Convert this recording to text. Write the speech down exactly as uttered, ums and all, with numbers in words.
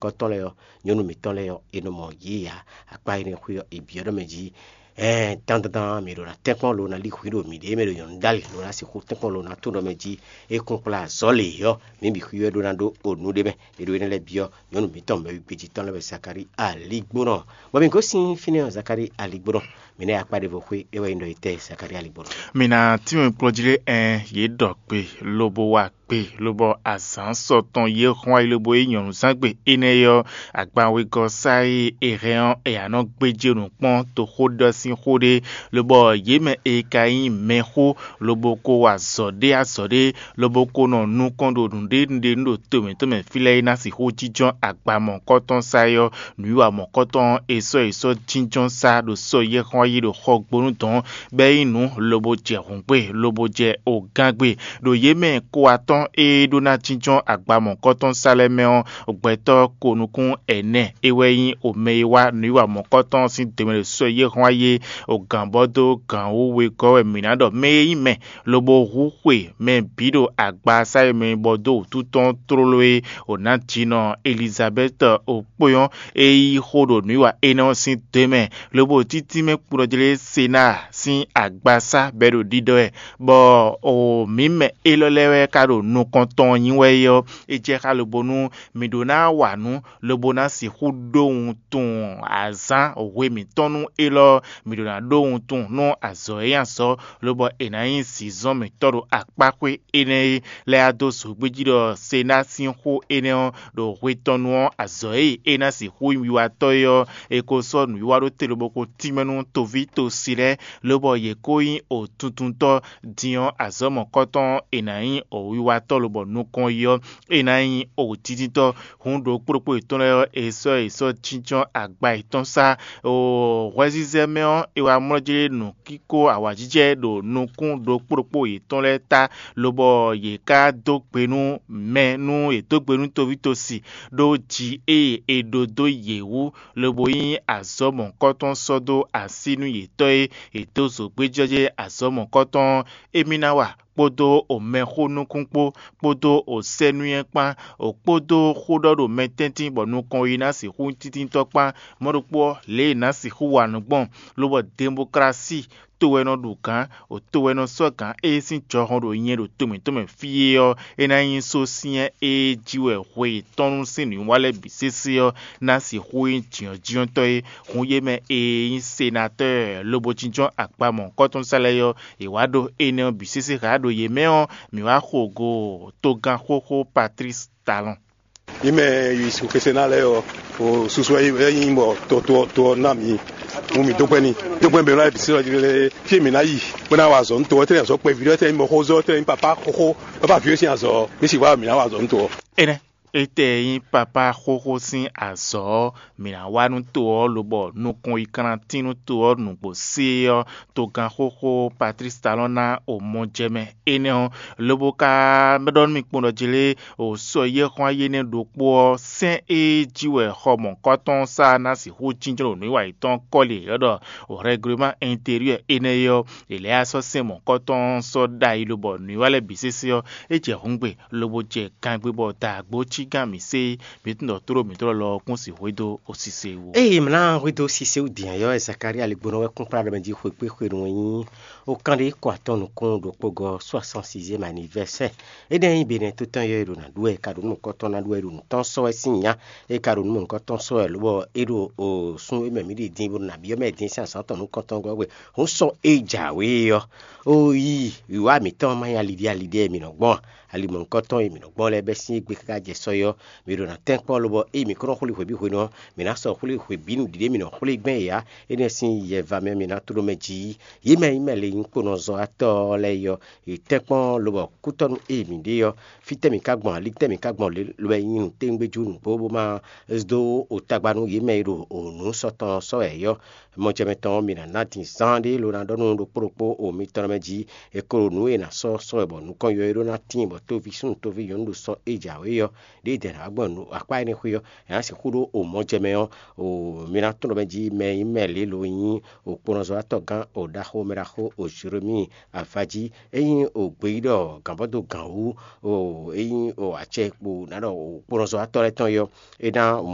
kpɔ́tɔ́ lɛ́ɛ ɔ́, nyɔ̌nu mǐtɔn lɛ́ɛ ɔ́, è nɔ mɔ yě ǎ. Akpá énɛ́ xwé ɔ́, è byɔ́ ɖɔ mɛ jí. Ɛɛn dandandan mǐ ɖo ná tɛ́nkpɔ́n lo ná lí hwǐ ɖo mǐɖée mɛ ɖo nyɔ̌nu ɖ'alǐ lo ná sixú tɛ́nkpɔ́n lo ná tó ɖɔ mɛ jí. É kún kplá azɔ̌ lě ɔ́, mǐ bǐ xwí wɛ ɖó ná ɖó o nǔ ɖé mɛ. È ɖo énɛ́ lɛ́ɛ byɔ́ nyɔ̌nu mǐtɔn mɛwígbéjítɔ́ lɛ́ɛ wɛ Zakalíi aligbónɔ. Bɔ mǐ gosín fínɛ́ ɔ́, Zakalíi aligbónɔ, mǐ ná yi akpá ɖěvo xwé, é wɛ nyí ɖɔ étɛ́ Zakalíi aligbónɔ. Mǐ ná tínmɛ kplɔ́ jí ɖé ɛn yě ɖɔ gbe, lobo wa gbe, lobɔ azǎn sɔ tɔn yě hɔn ayi lobo yí nyɔ̌nuzán gbe énɛ́ ɔ́, agban wegɔ́ sá e è hɛn ɔ́, è nǎ nɔ gbéjé nǔ kpɔ́n toxóɖɔ sín xó ɖé, lobɔ yě mɛ e ka nyí mɛxó lobo ko wa azɔ̌ ɖé azɔ̌ ɖé, lobo ko nɔ nukɔn ɖo nǔɖé nǔɖé nú ɖo to mǐtɔn mɛ fí lɛ́ɛ é ná sixú jínjɔ́n agba mɔ̌hunkɔtɔn sá é ɔ́, nǔwiwa mɔ̌hunkɔtɔn ɔ́, è sɔ́ è sɔ́ jínjɔ́n sá ɖo sɔ́ yɛ́ xɔ́n yi ɖo xɔgbónú dɔ̌n, bɔ é nyí nǔ lobo jɛ hǔngbe lobo jɛ ogángbe. Ɖo yě mɛ kó atɔ́n e ɖó ná jínjɔ́n agba mɔ̌hunkɔtɔn sá lɛ́ɛ mɛ ɔ́, gbɛtɔ́ ko nukún ɛnɛ é wɛ nyí omɛ e wá nǔwiwa mɔ̌hunkɔtɔn ɔ́ sín dǒmɛ ɖo sɔ́ yɛ́ xɔ́n yi é, ogǎn bɔ dó gǎn wú wegɔ́ wɛ mǐ ná ɖɔ mɛ e nyí mɛ lobo hu xwe mɛ bǐ ɖo agba sá e mɛ bɔ dó wǔtu tɔn tlóló é, o nǎ jinɔ Elizabɛ́ti okpó ɔ́, é yí xó ɖo nǔwiwa énɛ́ ɔ́ sín dó mɛ, lobo títí mɛ kplɔ́jlé Senáa sín agba sá bɔ é ɖo ɖiɖɔ wɛ, bɔ o mǐ mɛ élɔ́ lɛ́ɛ wɛ ka ɖo nukɔn tɔn nyí wɛ é ɔ́, é jɛ xá lobo nú mǐ ɖó ná wa nǔ, lobo ná sixú ɖó wuntun azǎn hwe mǐtɔn nú élɔ́, mǐ ɖó ná ɖó wuntun nú azɔ̌ e nyí azɔ̌, lobɔ è nǎ nyí zinzɔ́n mǐtɔn ɖo akpáxwé énɛ́ é lɛ́ɛ wá dó zogbéjí ɖɔ Senáa sín xó énɛ́ ɔ́ ɖo hwe tɔn nu ɔ́, azɔ̌ e é ná sixú nyí wiwatɔ́ é ɔ́, è ko sɔ́ nǔwiwa ɖó te lobo ko tínmɛ nú toví tosi lɛ́ɛ, lobɔ yě ko nyí o tuntuntɔ́ din ɔ́, azɔ̌ mɔ̌kɔtɔn ɔ́, è nǎ nyí o wiwatɔ́ lobɔ nukɔn yi ɔ́, è nǎ nyí o títítɔ́. Hǔn ɖokpó ɖokpó yětɔn lɛ́ɛ ɔ́, è sɔ́ è sɔ́ jínjɔ́n agba yětɔn sá. Hwɛzizɛ mɛ ɔ́, è wá mlɔ́ jlé nǔkíkó awǎjijɛ ɖo nukún ɖokpó ɖokpó yětɔn lɛ́ɛ ta, lobɔ yě ká dó gbe nú mɛ nú yě dó gbe nú toví tosi ɖó ji e è ɖó dó yě wú, lobo nyí azɔ̌ mɔ̌hunkɔtɔn sɔ́ dó así nú yětɔn e è dó zǒgbéjɔ́jɛ́ azɔ̌ mɔ̌hunkɔtɔn ɔ́, émí ná wa kpódó o mɛxó nukún kpó, kpódó o sɛ́ nú nyɛ kpán, o kpódó xó ɖɔ ɖo mɛ tɛ́ntin bɔ nukɔn yi ná sixú nyí tíntítɔ́ kpán. Mɔ̌ ɖokpó ɔ́, lě e è nǎ sixú wa nǔ gbɔn, lobɔ demoklási to wɛ nɔ ɖu gǎn, o to wɛ nɔ sɔ́ gǎn ée sín jɔhɔn ɖo nyɛ ɖo to mǐtɔn mɛ fí é ɔ́, é ná nyí só syɛ́n e jí wɛ hwe yětɔn nú sín nǔwiwa lɛ́ɛ bǐ sésé ɔ́ ná sixú nyí jǐnɔ́jínɔ́tɔ́ é. Hǔn yě mɛ e nyí senatɔ́ɔ lobo jínjɔ́n akpa mɔ̌hunkɔtɔn sá lɛ́ɛ ɔ́, è wǎ ɖó énɛ́ ɔ́ bǐ sésé xá ɖo yě mɛ ɔ́, mǐ wá xo go togán xóxó Patlísi Talɔn. Mǐ mɛ yi sixú ná lɛ́ɛ ɔ́, o susu wɛ nyí bɔ to to to ɔ́ ná mǐ. Mú mǐ dó kpɛ́ n'i. Dó kpɛ́ mǐ lɛ́ɛ bǐ sí lɔ jí lé fí e mǐ ná yi bó ná wa azɔ̌ nú to ɔ́, tɛ́ nyí azɔ̌ kpɛví ɖɔ, tɛ́ nyí mɔxózɔ́, tɛ́ nyí papá xóxó, papá vǐ sín azɔ̌, mǐ sixú wá mǐ ná wa azɔ̌ nú to ɔ́. Énɛ́ étɛ́ nyí papá xóxó sín azɔ̌ ɔ́, mǐ ná wá nú to ɔ́ lobɔ nukɔn yi kantín nú to ɔ́ nǔgbó sé ɔ́, togán xóxó Patlísi Talɔn ná o mɔ jɛ mɛ énɛ́ ɔ́, lobo ka ɖɔ nú mì kpɔ́n ɖɔ jlé o sɔ yɛ́ xɔ́n ayé nɛ́ ɖokpó ɔ́, sɛ́n e jí wɛ xɔ mɔ̌hunkɔtɔn sá ná sixú jínjɔ́n ɖo nǔwiwa yětɔn kɔ́li e è ylɔ́ ɖɔ rɛgleman ɛnteriwɛ énɛ́ é ɔ́, è lɛ́ wá sɔ́ sɛ́n mɔ̌hunkɔtɔn sɔ́ ɖ'ayǐ lobɔ nǔwiwa lɛ́ɛ bǐ sésé ɔ́, é jɛ hǔngbe lobo jɛ gangbé bɔ daagbó cí gán mǐ sé, mǐ tunwun ɖɔ tlóló mǐtɔn lɔ ɔ́ kún sixú xwedó osise wú. Eye mlá hwedó sise wú din ayɔ Zakalía ligbónɔ wɛ kún kplá ɖɔ mɛ jí xwekpé xwenu e nyí o kan ɖé kɔ atɔn nukún ɖokpó gɔ soixante-sixième anniversaire. Énɛ́ nyí benɛ tó tɔn yɔ e ɖo nǎ ɖu wɛ, e ka ɖo nukɔntɔn ná ɖu wɛ, e ɖo nǔ tɔn sɔ́ wɛ sín nya, e ka ɖo nǔ mɔ̌hunkɔtɔn sɔ́ wɛ, lobɔ é ɖo o sun e mɛ mǐ ɖi din bó ɖo nǎ byɔ́ mɛ din sín azǎn tɔn nukɔntɔn gɔ́ gbe. Hǔn sɔ́ e jǎwe ɔ́, o yi wǐwá mǐtɔn má nyí aliɖí aliɖí e mǐ nɔ gbɔn a? Ali mɔ̌hunkɔtɔn e mǐ nɔ gbɔn lɛ́ɛ bɛ́ sín égbé káká jɛ sɔ é ɔ́, mǐ ɖo ná tɛ́nkpɔ́n lobɔ ée mǐ kó nɔ xwlé hweví hwenu ɔ́, mǐ ná sɔ́ xwlé hweví nǔɖiɖe e mǐ nɔ xwlé gbɛn é ǎ. Énɛ́ sín yɛva mɛ mǐ ná tló mɛ jí. Yě mɛ e nyí mɛ le nyí kponɔzɔ́watɔ́ lɛ́ɛ é ɔ́, yě tɛ́nkpɔ́n lobɔ kútɔ́nú e mǐ ɖe ɔ́, fítɛ́ mǐ ka gbɔn, ali tɛ́ mǐ ka gbɔn lě lobɔ é nyí nǔtɛ́ngbéjú nǔgbó bó má dó o tagba nú yě mɛ e ɖo o nǔ sɔ́ tɔn sɔ́ wɛ é ɔ́. Mɔjɛmɛ tɔn ɔ́, mǐ ná ná din zán ɖé lo ná ɖɔ nú ɖokpó ɖokpó o mitɔn mɛ jí, è ko ɖo nǔ e è nǎ sɔ́ sɔ́ wɛ bɔ nukɔn yɔ é ɖó ná tíin bɔ tóví súnnu tóví nyɔ̌nu ɖo sɔ́ e jǎwe ɔ́, ɖěe dɛ̌ ná wá gbɔn nǔ akpá énɛ́ xwé ɔ́, è nǎ sixú ɖó o mɔjɛmɛ ɔ́, o mi ná tlɔ́n mɛ jí mɛ e nyí mɛ lě lo nyí o kponɔzɔ́watɔ́ gán o ɖaxó mɛ ɖaxó o Jeremíi avají, é nyí o gbeyíɖɔ gǎnbɔ́dó gǎn wú, o é nyí o acɛ kpo ná ɖɔ o kponɔzɔ́watɔ́ lɛ́ɛ tɔn é ɔ́, é ná